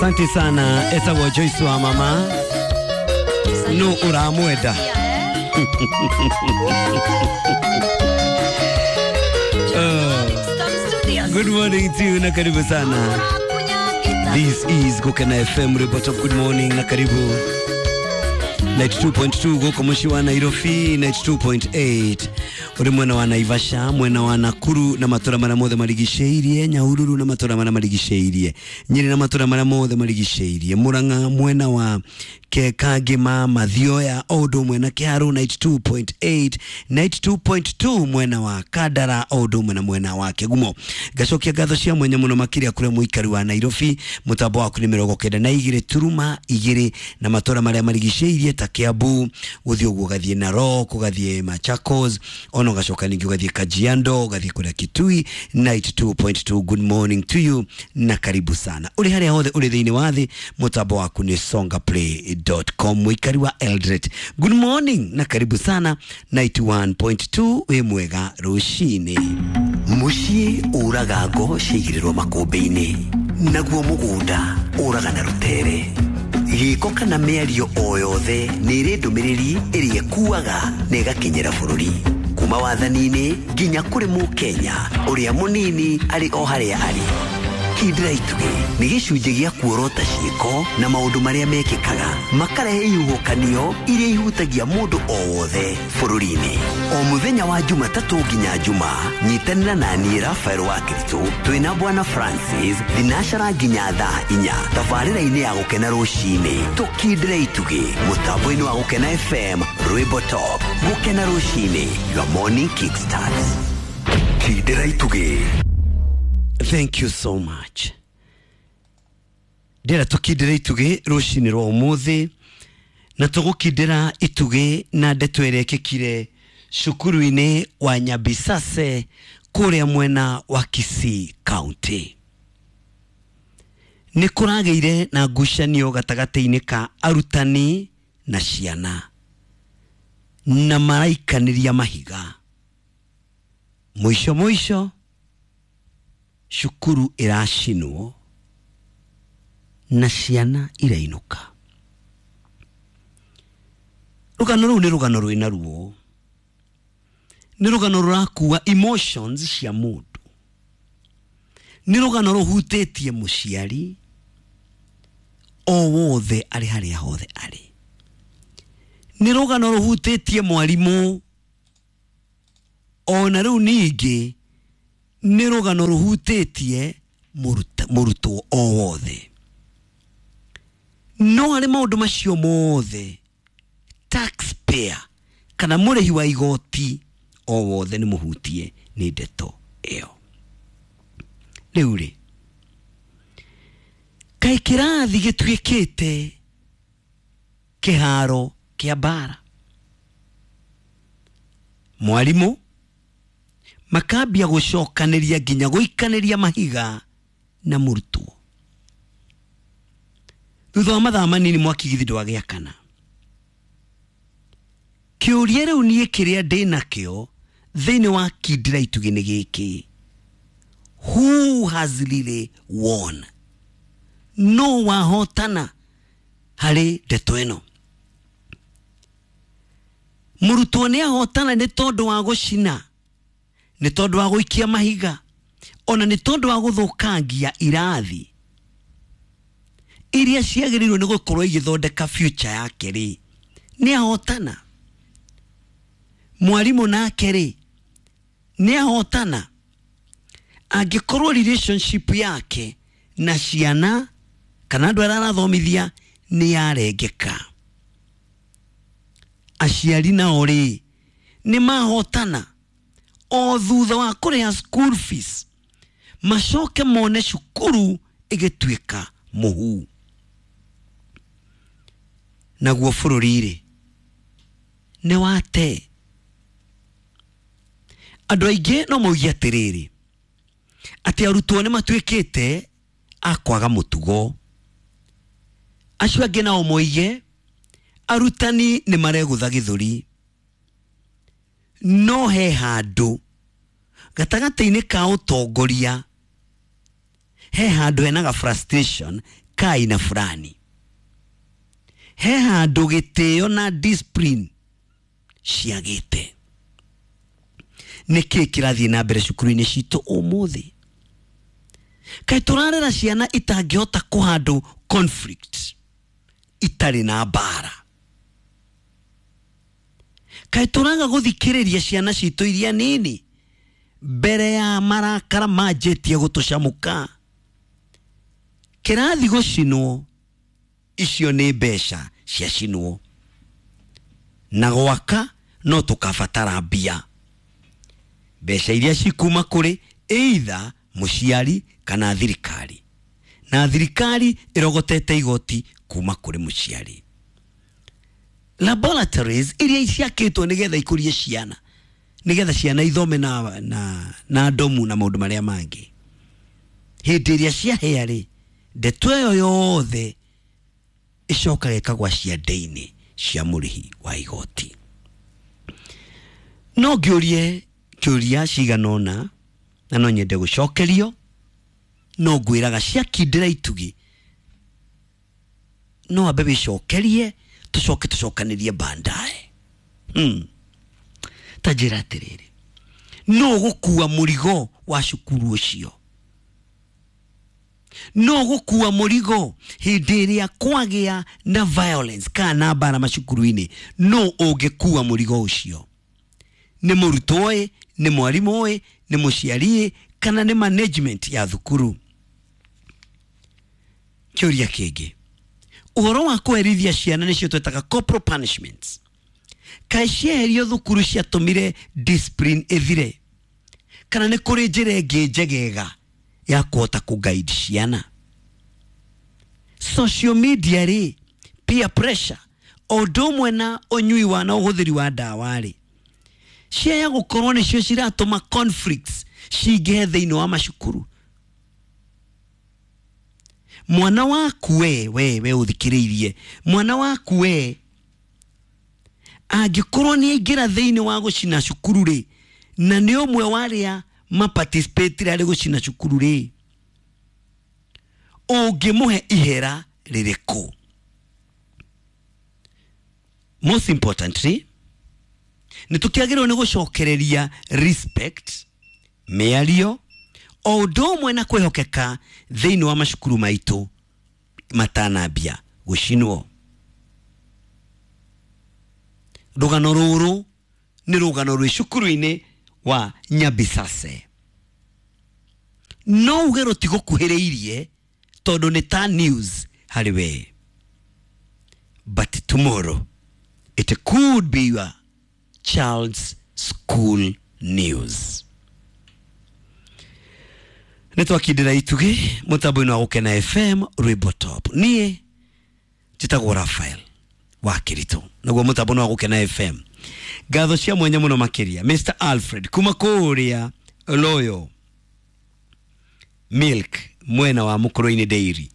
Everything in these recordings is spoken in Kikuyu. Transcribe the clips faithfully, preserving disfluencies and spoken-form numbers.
Asante sana etagwo Joyce wa mama no uramwenda. Uh, good morning to you na karibu sana. This is Gukena F M report of good morning na karibu ninety-two point two goko mushi wa Nairobi, ninety-two point eight uri mwena wa Naivasha, mwena wa Nakuru na matura mara mothe marigiceirie, Nyahururu na matura mara marigiceirie, Nyeri na matura mara mothe marigiceirie, Murang'a mwena wa Kekagima, Mathioya, Odo mwena Kiharu ninety-two point eight, ninety-two point two mwena wa Kandara, Odo mwena mwena wa Kigumo. Gacokia ngatho cia mwenya muno makiria kure muikari wa Nairobi, mutambo waku ni mirongo kenda na igiri turuma igiri na matura maria marigiceirie ta Kiambu, guthii uguo ugathie Narok, ugathie Machakos, ono gacoka ningi ugathie Kajiado, ugathie kuria Kitui ninety-two point two. Good morning to you na karibu sana uri haria hothe uri thiini wa thi, mutambo waku ni songa play dot com. Muikari wa Eldoret, good morning na karibu sana ninety-one point two. Wi mwega rucini. Muciĩ ũraga ngo ciigĩrĩrwo makũmbĩ-inĩ, naguo mũgũnda ũraga na rũtere. Gĩko kana mĩario o yothe nĩ ĩrĩ ndũmĩrĩri ĩrĩa ĩkuaga na ĩgakinyĩra bũrũri, kuma wathani-inĩ nginya kũrĩ mũkenya ũrĩa mũnini arĩ o harĩa arĩ. Kindĩra itugĩ nĩ gĩcunjĩ gĩa kuorota ciĩko na maũndũ marĩa mekĩkaga makarehe ihuhũkanio iria ihutagia mũndũ o wothe bũrũri-inĩ. O mũthenya wa Jumatatũ nginya Juma, nyitanĩra na niĩ Rafael wa Kristo twĩna Bwana Francis thinacara nginya thaa inya tabarĩra-inĩ ya Gũkena rũcinĩ. Tũkindĩre itugĩ mũtambo-inĩ wa Gũkena F M, Rwĩmbo Top. Gũkena rũcinĩ, your morning kickstart. Kindĩra itugĩ. Thank you so much. Ndĩra tũkindĩre itugĩ rũcinĩ rwa ũmũthĩ, na tũgũkindĩra itugĩ na ndeto ĩrĩa ĩkĩkire cukuru-inĩ wa Nyabisase kũrĩa mwena wa Kisii County. Nĩ kũragĩire na ngucanio gatagatĩ-inĩ ka arutani na ciana, na maraikanĩria mahiga. Mũico mũico cukuru ĩracinwo na ciana irainũka. Rũgano rũu nĩ rũgano rwĩna ruo, nĩ rũgano rũrakua emotions cia mũndũ, nĩ rũgano rũhutĩtie mũciari o wothe arĩ harĩa hothe arĩ, nĩ rũgano rũhutĩtie mwarimũ, ona rĩu ningĩ nĩ rũgano rũhutĩtie mũrutwo o wothe. No harĩ maũndũ macio mothe, taxpayer kana mũrĩhi wa igoti o wothe nĩ mũhutie nĩ ndeto ĩyo. Rĩu rĩ, kaĩ kĩrathi gĩtuĩkĩte kĩharo kĩa mbara? Mwarimũ makambia gũcokanĩria nginya gũikanĩria mahiga na mũrutwo. Thutha wa mathaa manini mwaki githi ndwagĩakana. Kĩũria rĩu niĩ kĩrĩa ndĩnakĩo thĩinĩ wa kindĩra itugĩ nĩ gĩkĩ: who has really won? No wahotana harĩ ndeto ĩno? Mũrutwo nĩ ahotana nĩ tondũ wa gũcina, nĩ tondũ wa gũikia mahiga, ona nĩ tondũ wa gũthũkangia irathi iria ciagĩrĩirwo nĩ gũkorwo igĩthondeka future yake rĩ, nĩ ahotana? Mwarimũ nake rĩ, nĩ ahotana? Angĩkorwo relationship yake na ciana kana andũ arĩa arathomithia nĩ yarengeka, aciari nao rĩ nĩ mahotana? O thutha wa kũrĩha school fees macoke mone cukuru ĩgĩtuĩka mũhu. Naguo bũrũri rĩ nĩ wate. Andũ aingĩ no mauge atĩrĩrĩ, atĩ arutwo nĩ matuĩkĩte a kwaga mũtugo. Acio angĩ nao moige arutani nĩ maregũtha gĩthũri. No he handũ gatagatĩ-inĩ ka ũtongoria, he handũ henaga frustration ka aina fulani. He handũ gĩtĩo na discipline ciagĩte. Nĩkĩ kĩrathiĩ na mbere cukuru-inĩ citũ ũmũthĩ? Kaĩ tũrarera ciana itangĩhota kũhandũ conflict itarĩ na mbara? Kaĩ tũraga gũthikĩrĩria ciana citũ iria nini mbere ya marakara manjĩtie gũtũcamũka? Kĩrathi gũcinwo, icio nĩ mbeca ciacinwo, na gwaka no tũkabatara mbia, mbeca iria cikuma kũrĩ either mũciari kana thirikari, na thirikari ĩrogotete igoti kuma kũrĩ mũciari. Laboratories iria ciakĩtwo nĩgetha ikũrie ciana, nĩgetha ciana ithome na, na, na ndomu na maũndũ marĩa mangĩ, hĩndĩ ĩrĩa ciahĩa rĩ, ndeto ĩyo yothe ĩcokaga ĩkagwa ciande-inĩ cia mũrĩhi wa igoti. No ngĩũrie kĩũria cigana ũna na no nyende gũcokerio, no ngwĩraga ciakindĩra itugi no ambe wĩcokerie, tũcoke tũcokanĩrie bandae. Hmm. Ta njĩra atĩrĩrĩ, no gũkua mũrigo wa cukuru ũcio, no gũkua mũrigo hĩndĩ ĩrĩa kwagĩa na violence kana na mbara macukuru-inĩ, no ũngĩkua mũrigo ũcio? Nĩ mũrutwo ĩ, nĩ mwarimũ ĩ, nĩ mũciari ĩ, kana nĩ management ya thukuru? Kĩũria kĩngĩ, ũhoro wa kũherithia ciana nĩcio twetaga corporal punishments, kaĩ cieherio thukuru ciatũmire discipline ĩthire, kana nĩ kũrĩ njĩra ĩngĩ njegega ya kũhota kũguide ciana? Social media rĩ, peer pressure, o ũndũ ũmwe na ũnyui wa na ũhũthĩri wa ndawa rĩ, ciaya gũkorwo nĩcio ciratũma conflicts cingĩhe thĩinĩ wa macukuru. Mwana waku we, we, we ũthikĩrĩirie, mwana waku we angĩkorwo nĩ aingĩra thĩinĩ wa gũcina cukuru rĩ, na nĩ ũmwe wa arĩa maparticipate harĩ gũcina cukuru rĩ, ũngĩmũhe ihera rĩrĩkũ? Most importantly, nĩ tũkĩagĩrĩirwo nĩ gũcokereria respect, mĩario, o ũndũ ũmwe na kwĩhokeka thĩinĩ wa macukuru maitũ matanambia gũcinwo. Rũgano rũrũ nĩ rũgano rwĩ cukuru-inĩ wa Nyabisase. No uge rũtigũkuhĩrĩirie tondũ nĩ ta news harĩ we, but tomorrow it could be your child's school news. Nĩ twakindĩra itugĩ mũtambo-inĩ wa Gũkena F M rwĩmbo top. Niĩ njĩtagwo Raphael wa Kĩritũ, naguo mũtambo-inĩ wa Gũkena F M. Ngatho cia mwanya mũno makĩria Mister Alfred kuma kũrĩa Loyo Milk mwena wa Mukurweini Dairy.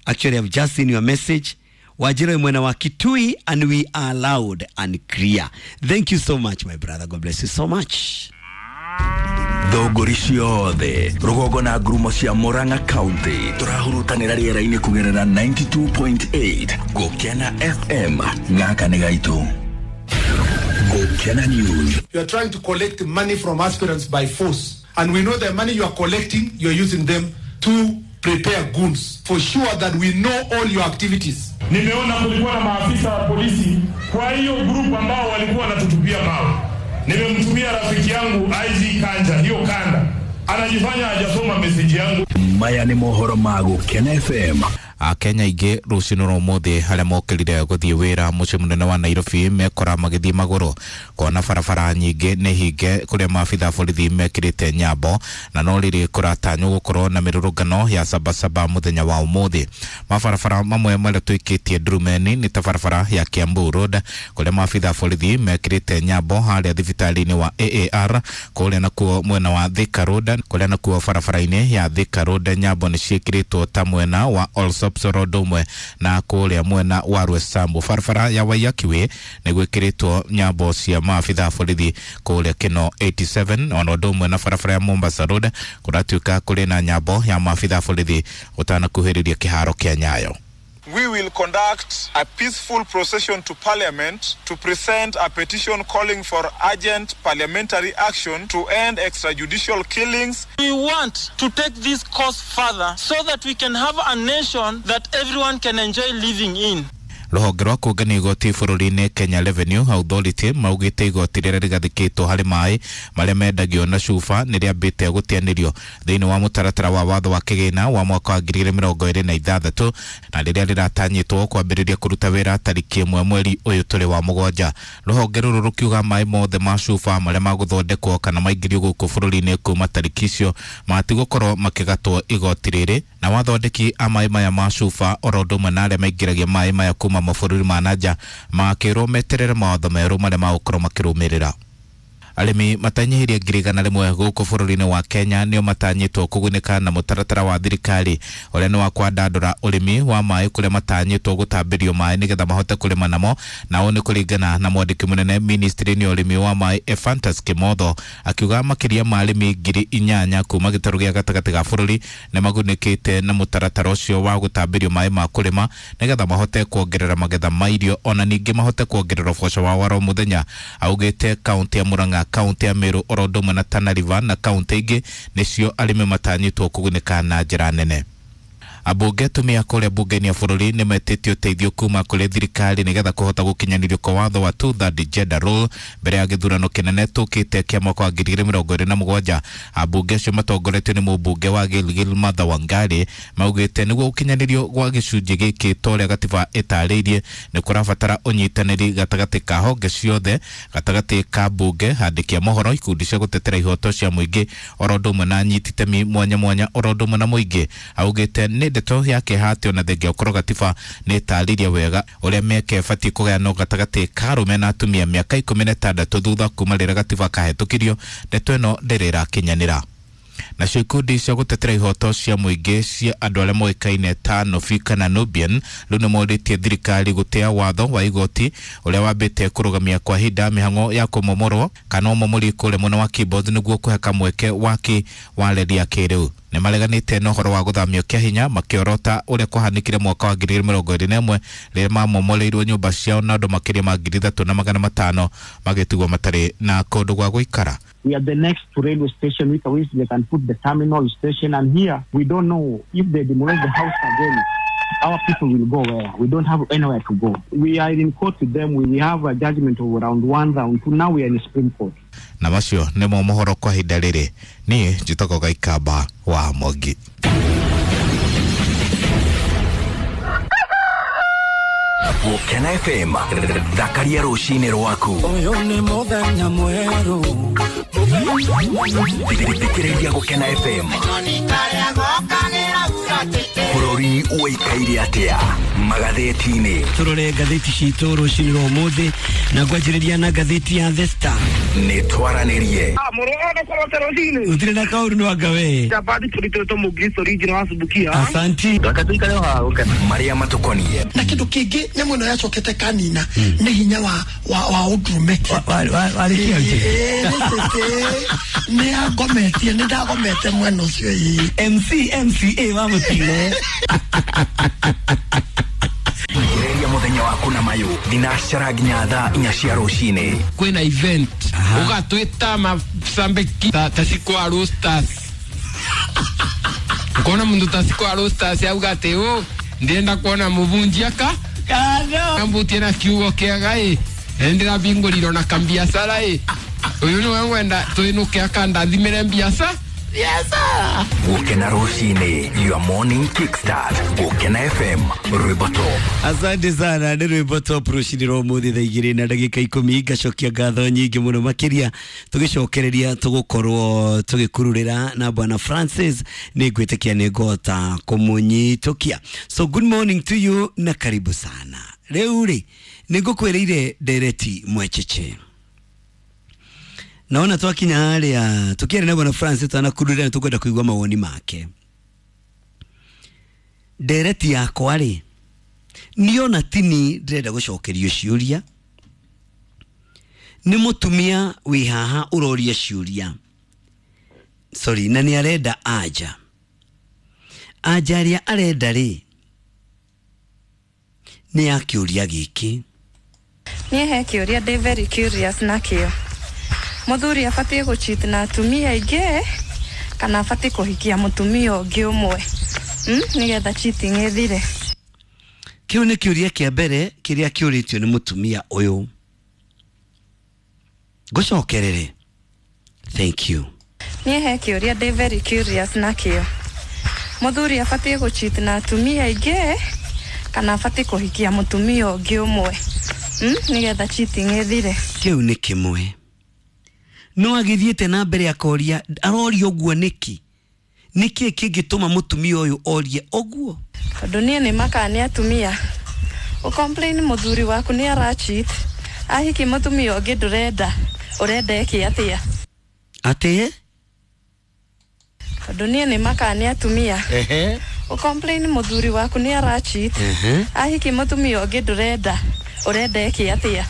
Actually, I've just seen your message. Wajiro mwena wa Kitui, and we are loud and clear. Thank you so much, my brother. God bless you so much. Thogori ciothe rũgongo na ngurumo cia Murang'a County tũrahurutanĩra rĩera-inĩ kũgerera ninety-two point eight Gũkena F M. Gaka nĩ gaitũ. Gũkena News. You are trying to collect money from aspirants by force, and we know the money you are collecting, you are using them to prepare goons. For sure that we know all your activities. Nimeona kulikuwa na maafisa wa polisi kwa hiyo group ambao walikuwa wanatutupia mawe. Nimemtumia rafiki yangu I G Kanja, hiyo kanda. Anajifanya hajasoma message yangu. Maya ni mohoro ma Gũkena F M. Akenya ingĩ rũcinĩ rwa ũmũthĩ harĩa mokĩrire gũthiĩ wĩra mũciĩ mũnene wa Nairobi mekora magĩthiĩ magũrũ kuona barabara nyingĩ nĩ hinge kũrĩa maabitha borithi mekĩrĩte nyambo, na no rĩrĩ kũratanywo gũkorwo na mĩrũrũngano ya sabasaba mũthenya wa ũmũthĩ. Mabarabara mamwe marĩa twĩkĩtie ndurumeni nĩ ta barabara ya Kiambu Road kũrĩa maabitha borithi mekĩrĩte nyambo harĩa thibitarĩ-inĩ wa A A R, kũrĩa nakuo mwena wa Thika Road, kũrĩa nakuo barabara-inĩ ya Thika Road nyambo nĩ ciĩkĩrĩtwo ta mwena wa Allsops Shops oro ũndũ ũmwe na kũrĩa mwena wa Roysambu. Barabara ya Waiyaki Way nĩ gwĩkĩrĩtwo nyambo cia maabitha a borithi kũrĩa Kino eighty-seven, ona ũndũ ũmwe na barabara ya Mombasa Road kũratuĩka kũrĩ na nyambo ya maabitha a borithi ũtanakuhĩrĩria kĩharo kĩa Nyayo. We will conduct a peaceful procession to Parliament to present a petition calling for urgent parliamentary action to end extrajudicial killings. We want to take this cause further so that we can have a nation that everyone can enjoy living in. Rũhonge rwa kũngania igoti bũrũri-inĩ Kenya Revenue Authority maugĩte igoti rĩrĩa rĩgathĩkĩtwo harĩ maĩ marĩa mendagio na cuba nĩ rĩambĩte gũteanĩrio thĩinĩ wa mũtaratara wa watho wa kĩgĩna wa mwaka wa ngiri igĩrĩ mĩrongo ĩrĩ na ithathatũ, na rĩrĩa rĩratanyĩtwo kwambĩrĩria kũruta wĩra tarĩki ĩmwe mweri ũyũ tũrĩ wa mũgwanja. Rũhonge rũrũ rũkiuga maĩ mothe ma cuba marĩa magũthondekwo kana maingĩrio gũkũ bũrũri-inĩ kuma tarĩki icio matigũkorwo makĩgatwo igoti rĩrĩ, na wathondeki a maĩ maya ma cuba oro ũndũ ũmwe na arĩa maingĩragia maĩ maya kuma mabũrũri ma nanja makĩrwo meterere mawatho merũ marĩa magũkorwo makĩrũmĩrĩra. Arĩmi matanyihĩrie ngiri igana rĩmwe gũkũ bũrũri-inĩ wa Kenya nĩo matanyĩtwo kũgunĩka na mũtaratara wa thirikari ũrĩa nĩ wa kwandandũra ũrĩmi wa maĩ kũrĩa matanyĩtwo gũtambĩrio maĩ nĩgetha mahote kũrĩma namo, na ũũ nĩ kũringana na mwandĩki mũnene ministry-inĩ ya ũrĩmi wa maĩ Ephantus Kimotho akiuga makĩria ma arĩmi ngiri inyanya kuma gĩtarũ gĩa gatagatĩ ga bũrũri nĩ magunĩkĩte na mũtaratara ũcio wa gũtambĩrio maĩ ma kũrĩma nĩgetha mahote kuongerera magetha ma irio ona ningĩ mahote kuongerera ũboco wao wa oro mũthenya. Augĩte kaũntĩ ya Murang'a, kaunti ya Meru oro ũndũ ũmwe na Tana River na kaunti ingĩ nĩcio arĩmi matanyĩtwo kũgunĩka na njĩra nene. Ambunge atumia kũrĩa mbunge-inĩ ya bũrũri nĩ metĩtie ũteithio kuma kũrĩ thirikari nĩgetha kũhota gũkinyanĩrio kwa watho wa two-third gender rule mbere ya gĩthurano kĩnene tũkĩte kĩa mwaka wa ngiri igĩrĩ mĩrongo ĩrĩ na mũgwanja. Ambunge acio matongoretio nĩ mũmbunge wa Gilgil Martha Wangari maugĩte nĩguo gũkinyanĩrio gwa gĩcunjĩ gĩkĩ ta ũrĩa gatiba ĩtarĩirie nĩ kũrabatara ũnyitanĩri gatagatĩ ka honge ciothe, gatagatĩ ka mbunge, handĩki a mohoro, ikundi cia gũtetera ihoto cia mũingĩ oro ũndũ ũmwe na anyiti itemi mwanya mwanya oro ũndũ ũmwe na mũingĩ. Augĩte nĩ ndeto ya kĩeha atĩ ona thengia gũkorwo gatiba nĩ ĩtarĩirie wega ũrĩa mĩeke ĩbatiĩ kũgayanwo gatagatĩ ka arũme na atumia mĩaka ikũmi na ĩtandatũ thutha kuma rĩrĩa gatiba kahĩtũkirio, ndeto ĩno ndĩrĩ ĩrakinyanĩra. Nacio ikundi cia gũtetera ihoto cia mũingĩ cia andũ arĩa moĩkaine ta Nobi kana Nubian rĩu nĩ morĩtie thirikari gũtĩa watho wa igoti ũrĩa wambĩte kũrũgamia kwa ihinda mĩhang'o ya kũmomorwo kana ũmomori kũrĩa mwena wa Kibos nĩguo kũhe kamweke waki wa reri ya kĩrĩu. Nĩ mareganĩte na ũhoro wa gũthamio kĩa hinya makĩorota ũrĩa kwahanĩkire mwaka wa ngiri igĩrĩ mĩrongo ĩrĩ na ĩmwe rĩrĩa mamomoreirwo nyũmba ciao na andũ makĩria ma ngiri ithatũ na magana matano magĩtigwo matarĩ na kũndũ gwa gũikara. We are the next to railway station, which which they can put the terminal station, and here we don't know if they demolish the house again, our people will go where? We don't have anywhere to go. We are in court with them. We have a judgment of round one, round two. Now we are in the Supreme Court. Na macio nĩmo mohoro kwa ihinda rĩrĩ. Niĩ njĩtagwo Gaikamba wa Mwangi. Gũkena F M, thakaria rũcinĩ rwaku. Ũyũ nĩ mũthenya mwerũ. Thikĩrĩria Gũkena F M. Bũrũri ũikaire atĩa magathĩti-inĩ. Tũrore ngathĩti citũ rũcinĩ rwa ũmũthĩ na ngwanjĩrĩria na ngathĩti ya The Star. Nĩ twaranĩrie. Gũtirĩ na kaũndũ nĩ wanga we. Asanti. Marĩa matũkoniĩ. Na kĩndũ kĩngĩ nyamũ ĩno yacokete kanina nĩ hinya wa wa wa ũndũrũme. Nĩ angometie, nĩ ndagomete mwena ũcio ĩĩ. M C M C A wa mũtino. Thikĩrĩria mũthenya waku na mayũ thinacara nginya thaa inya cia rũcinĩ. Kwĩna event ũgatwĩta macambĩki ta Cikwa Roasters. Ukona mundu ta Cikwa Roasters auga atĩ ũ ndĩrenda kuona mũbunjia ka kambutie na kiugo kĩega ĩ ndĩrabingũrirwo na kambiacara ĩ ũyũ nĩwe ngwenda twĩnũke akandathimĩre mbiaca. Yes, sir. Gũkena rũcinĩ, your morning kickstart. Gũkena F M, rwĩmbo top. Asante sana, nĩ rwĩmbo top rũcinĩ rwa ũmũthĩ thaa igĩrĩ na ndagĩka ikũmi. Ngacokia ngatho nyingĩ mũno makĩria tũgĩcokereria tũgũkorwo tũgĩkururĩra na Bwana Francis nĩ ngwĩtĩkia nĩ ngũhota kũmũnyitũkia. So good morning to you na karibu sana. Rĩu rĩ nĩ ngũkwĩrĩire ndereti mwecheche. Naona twakinya haria tukiaria na Bwana Francis twanakururira tukwenda kuigua mawoni make. Ndereti yakwa rĩ, niona tini ndĩrenda gũcokerio ciũria. Nĩ mũtumia wĩ haha ũroria ciũria, sorry, na nĩ arenda anja. Anja ĩrĩa arenda rĩ, nĩ ya kĩũria gĩkĩ. Niĩ he kĩũria ndĩ very curious nakĩo. Mũthuri abatiĩ gũcheat na atumia aingĩ kana abatiĩ kũhikia mũtumia ũngĩ ũmwe, mm? nĩgetha cheating ĩthire? Kĩu nĩ kĩũria kĩa mbere kĩrĩa kĩũrĩtio nĩ mũtumia ũyũ. Ngũcokerere. Thank you. Niĩ he kĩũria ndĩ very curious nakĩo. Mũthuri abatiĩ gũcheat na atumia aingĩ kana abatiĩ kũhikia mũtumia ũngĩ ũmwe, mm? nĩgetha cheating ĩthire? Kĩu nĩ kĩmwe. No agĩthiĩte na mbere akoria, aroria ũguo nĩkĩ? Nĩkĩ kĩngĩtũma mũtumia ũyũ orie ũguo? Tondũ niĩ nĩ makaga nĩ atumia ũcomplain mũthuri waku nĩ aracheat, ahiki mũtumia ũngĩ ndũrenda, ũrenda eke atĩa? Atĩ? Tondũ niĩ nĩ makaga nĩ atumia Ehe. ũcomplain mũthuri waku nĩ aracheat, Ehe. ahiki mũtumia ũngĩ ndũrenda, ũrenda eke atĩa?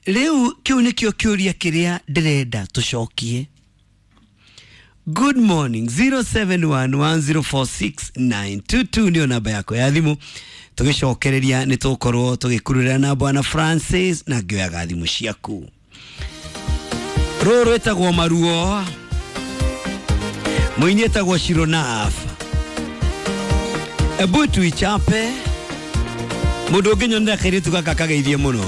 Rĩu kĩu nĩkĩo kĩũria kĩrĩa ndĩrenda tũcokie. Good morning. zero seven one one zero four six nine two two nĩyo namba yakwa ya thimũ. Tũgĩcokereria nĩ tũgũkorwo tũgĩkururĩra na Bwana Francis na ngĩoyaga thimũ ciaku. Rũrũ rwĩtagwo Maruo, mũini etagwo Shironaf. Ebu tuichape. Mũndũ ũngĩnyonera kairĩtu gaka kageithie mũno.